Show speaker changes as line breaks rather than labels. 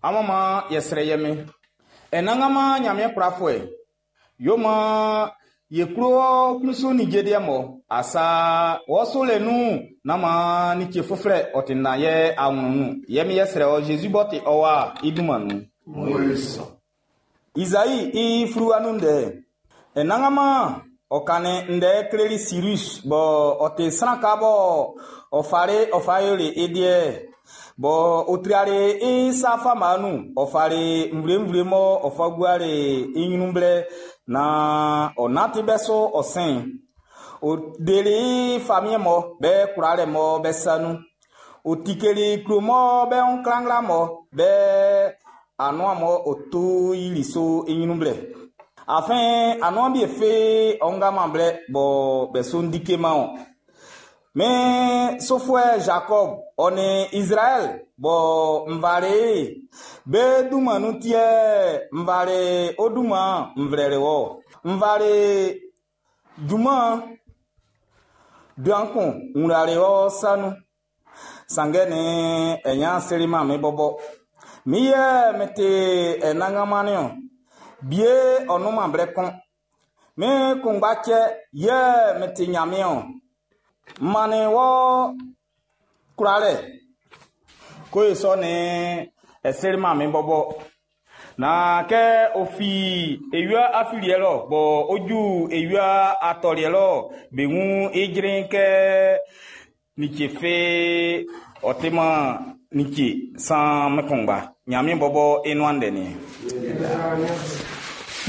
Amun man yɛ srɛ ye Min. Anannganman Nyanmiɛn kwlafuɛ, yo man ye klo wɔ klun su ninnge liɛ mɔ. Asa wɔ sulɛ nun'n, nán man like fuflɛ ɔ tanndan ye awlɛn'n nun. Yɛ min yɛ srɛ wɔ Zezi b'ɔ ti ɔ Wa'n i dunman nun. Izai i fluwa nun ndɛ. Anannganman ɔ kannin ndɛ kleli Sirus bɔ ɔ ti sran ka bɔ ɔ fali ɔ fa yoli i liɛ bɔ ɔ triali i sa fama nun ɔ fali nvle-nvle mɔ ɔ fa guali i ɲrun blɛ naan ɔ nanti bɛ su ɔ sɛn. Ɔ deli famiɛn mɔ be kwlalɛ mɔ be sa nun. Ɔ tikeli klo mɔ be wun klangla mɔ be anuan mɔ ɔ to yili so i ɲrun blɛ. Afin anuan bi fe ɔ nga man blɛ bɔ be so ndike man o. Min sufuɛ Jacob ɔ nin Israɛl bɔ n fali be dunman nun tiɛ n fali o dunman n flɛli wɔ. N fali junman dan kun n wlali ɔ sa nun. Sanngɛ ni ɛnya seli man min bɔbɔ. Mi yɛ mi ti Anannganman niɔn. Bie ɔ nunman blɛ kun. Min kunngba cɛ yɛ mi ti Nyanmiɛn ɔn. M mannin wɔ kwlalɛ. Ko e sɔ ni ɛseli man min bɔbɔ. Na kɛ o fi ewia afiliɛ lɔ bɔ o ju ewia atɔliɛ lɔ be ŋu ijrin kɛ like fe ɔ ti man like san mɛ kunngba. Nyanmiɛn bɔbɔ i nuan ndɛ ni.